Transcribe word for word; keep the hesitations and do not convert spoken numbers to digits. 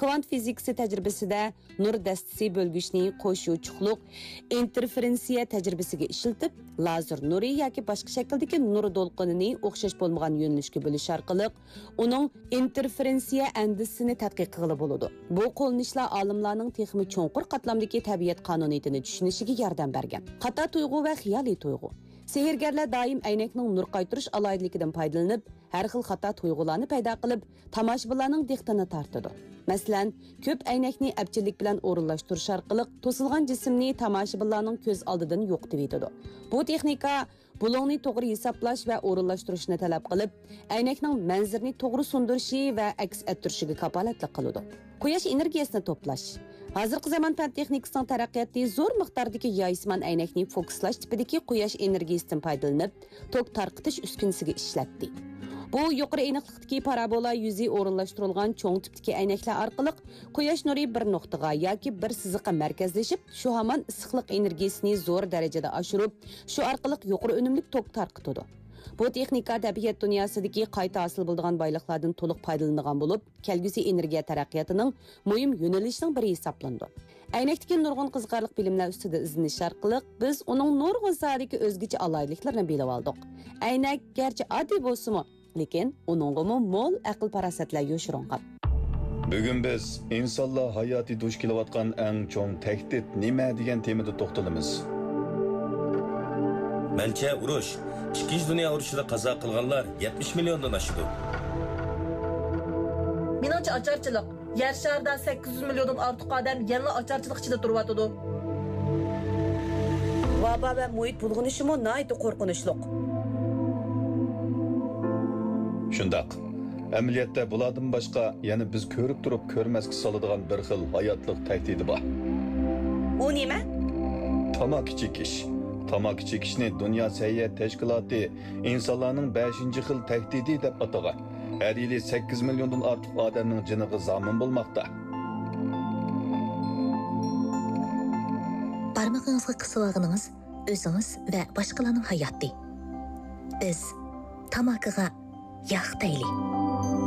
كۋانت فىزىكىسى تەجرىبىسىدە نۇر دەستىسى بۆلگۈچنى قوش يوچۇقلۇق ئىنتېرفېرېنسىيە تەجرىبىسىگە ئىشلىتىپ، لازېر نۇرى ياكى باشقا شەكىلدىكى نۇر دولقۇنىنى ئوخشاش بولمىغان يۆنىلىشكە بۆلۈش ئارقىلىق، ئۇنىڭ ئىنتېرفېرېنسىيە ئەندىزىسىنى تەتقىق قىلغىلى بولىدۇ. بۇ قوللىنىشلار ئالىملارنىڭ تېخىمۇ چوڭقۇر قاتلامدىكى تەبىئەت قانۇنىيىتىنى چۈشىنىشىگە ياردەم بەرگەن. خاتا تۇيغۇ ۋە خىيالىي تۇيغۇ. سېھىرگەرلەر دائىم ئەينەكنىڭ نۇر قايتۇرۇش ئالاھىدىلىكىدىن پايدىلىنىپ، ھەر خىل خاتا تۇيغۇلارنى پەيدا قىلىپ، تاماشىبىنلارنىڭ دىققىتىنى تارتىدۇ. مەسىلەن، كۆپ ئەينەكنى ئەپچىللىك بىلەن ئورۇنلاشتۇرۇش ئارقىلىق توسۇلغان جىسىمنى تاماشىبىنلارنىڭ كۆز ئالدىدىن يوقىتىۋېتىدۇ. بۇ تېخنىكا بۇلۇڭنى توغرا ھېسابلاش ۋە ئورۇنلاشتۇرۇشنى تەلەپ قىلىپ، ئەينەكنىڭ مەنزىرىنى توغرا سۇندۇرۇشى ۋە ئەكس ئەتتۈرۈشىگە كاپالەتلىك قىلىدۇ. قۇياش ئېنېرگىيەسىنى توپلاش. ھازىرقى زامان پەن تېخنىكىسىنىڭ تەرەققىياتى زور مىقداردىكى يايسىمان ئەينەكنى فوكۇسلاش تىپىدىكى قۇياش ئېنېرگىيىسىدىن پايدىلىنىپ، توك تارقىتىش ئۈسكۈنىسىگە ئىشلەتتى. بۇ يۇقىرى ئېنىقلىقتىكى پارابولا يۈزى ئورۇنلاشتۇرۇلغان چوڭ تىپتىكى ئەينەكلەر ئارقىلىق قۇياش نۇرى بىر نۇقتىغا ياكى بىر سىزىققا مەركەزلىشىپ، شۇ ھامان ئىسسىقلىق ئېنېرگىيىسىنى زور دەرىجىدە ئاشۇرۇپ، شۇ ئارقىلىق يۇقىرى ئۈنۈملۈك توك تارقىتىدۇ. بۇ تېخنىكا تەبىئەت دۇنياسىدىكى قايتا ھاسىل بولىدىغان بايلىقلاردىن تولۇق پايدىلىنىدىغان بولۇپ، كەلگۈسى ئېنېرگىيە تەرەققىياتىنىڭ مۇھىم يۆنىلىشىنىڭ بىرى ھېسابلىنىدۇ. ئەينەكتىكى نۇرغۇن قىزىقارلىق بىلىملەر ئۈستىدە ئىزدىنىش ئارقىلىق، بىز ئۇنىڭ نۇرغۇن ساھەدىكى ئۆزگىچە ئالاھىدىلىكلىرىنى بىلىۋالدۇق. ئەينەك گەرچە ئاددىي بولسىمۇ، لېكىن ئۇنىڭغىمۇ مول ئەقىل-پاراسەتلەر يوشۇرۇنغان. بۈگۈن بىز ئىنسانلار ھاياتى دۇچ كېلىۋاتقان ئەڭ چوڭ تەھدىت نېمە دېگەن تېمىدا توختىلىمىز. مەنچە ئۇرۇش، ئىككىنچى دۇنيا ئۇرۇشىدا قازا قىلغانلار يەتمىش مىليوندىن ئاشىدۇ. مېنىڭچە ئاچارچىلىق. يەر شارىدا سەككىز يۈز مىليوندىن ئارتۇق ئادەم يەنىلا ئاچارچىلىق ئىچىدە تۇرۇۋاتىدۇ. ۋابا ۋە مۇھىت بۇلغىنىشىمۇ ناھايىتى قورقۇنچلۇق. شۇنداق. ئەمەلىيەتتە بۇلاردىن باشقا يەنە بىز كۆرۈپ تۇرۇپ كۆرمەسكە سالىدىغان بىر خىل ھاياتلىق تەھدىتى بار. ئۇ نېمە؟ تاماكا چېكىش. تاماكا چېكىشنى دۇنيا سەھىيە تەشكىلاتى ئىنسانلارنىڭ بەشىنچى خىل تەھدىتى دەپ ئاتىغان. ھەر يىلى سەككىز مىليوندىن ئارتۇق ئادەمنىڭ جېنىغا زامىن بولماقتا. بارمىقىڭىزغا قىسىۋالغىنىڭىز ئۆزىڭىز ۋە باشقىلارنىڭ ھاياتى. بىز تاماكىغا ياق دەيلى.